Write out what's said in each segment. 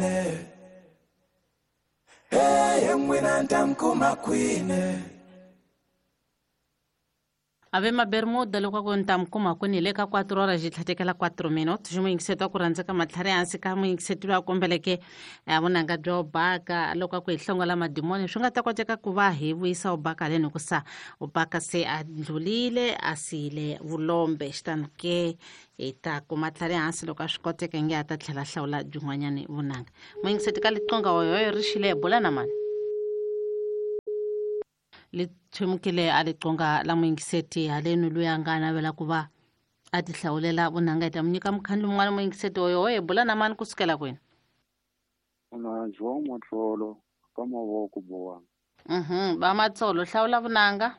Hey, n'wina ni ta mi kuma kwini? Ave mabermuda loko a ku ni ta mi kuma kwini hi le ka 4 horas xi tlhatekela 4 minutos xi muyingiseti wa ku rhandza ka matlhari hansi ka muyingiseti loyi a kombeleke vunanga bya ubaka loko a ku hi hlongola madimoni swi nga ta koteka ku va hi vuyisa ubaka haleni hikusa ubaka se a ndlulile a siyile vulombe xitani ke hi ta kuma tlhari hansi loko a swi koteka nge a ta tlhela hlawula byin'wanyani vunanga muyingiseti ka liqonga hoyoyo ri xile bula na mani li thwemukile a liqonga la muyingiseti haleni luya nga navela ku va a ti hlawulela vunanga hi ta mu nyika mukhandlu mun'wana muyingiseti hoyohoyo bula na mani kusukela kwini na João Matsolo ka mavoko bowani. Va Matsolo hlawula vunanga.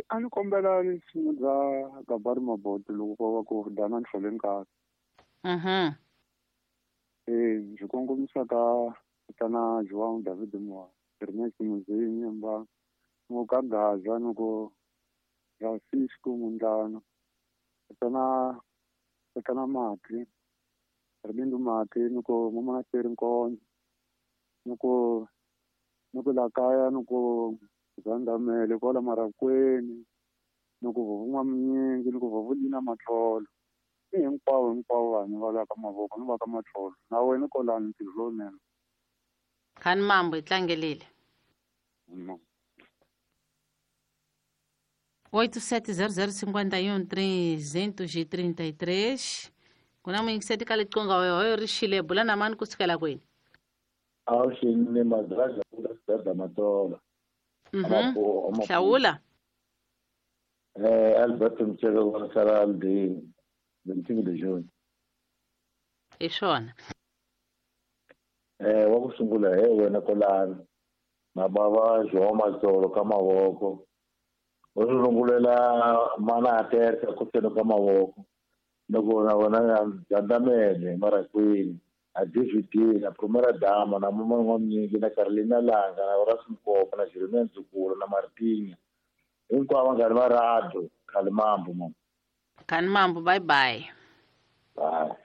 A ni kombela risimu bya Gabari Maboto loko ko va ku dana nhlole nkarhi. Byi kongomisa ka tatana João David Moa, Ernest Muzinyi Mba, Muka Gaza ni ku Francisco Mundlana, tatana Mati, Ribindu Mati ni ku Mamonaseri Nkonzo, ni ku ni ku la kaya ni ku Zandamele kwala Marakweni, ni ku Vuvun'wa Minyingi, ni ku Vuvulina Matlolo. I hinkwavo hinkwavo vanhu va la ka mavoko ni va ka Matlolo. Na wena kolani ntirho lowunene. Khani mambo hi tlangelile. 8700 51 333 ku na muyingiseti ka liqonga hoyohoyo ri xile bula na mani kusukela kwini? Awuxini madraga ku dada Matsolo. Hlawula. Albert Mtsheke wa sala Aldini, 25 de June. Hi swona. Wa ku sungula he wena kolani. Na bava João Matsolo ka mavoko. U ri rungulela mana a terka ku seno ka mavoko. Loko na wena Gandamele Marakwini, a DVD na Primera Dama na Mama N'wamnyingi na Carolina Langa na Horace Mkopo na Jeremiah Ndzukulu na Martinya. Hinkwavo vanghani va radio Khalimambo mama. Khalimambo, bye bye. Bye.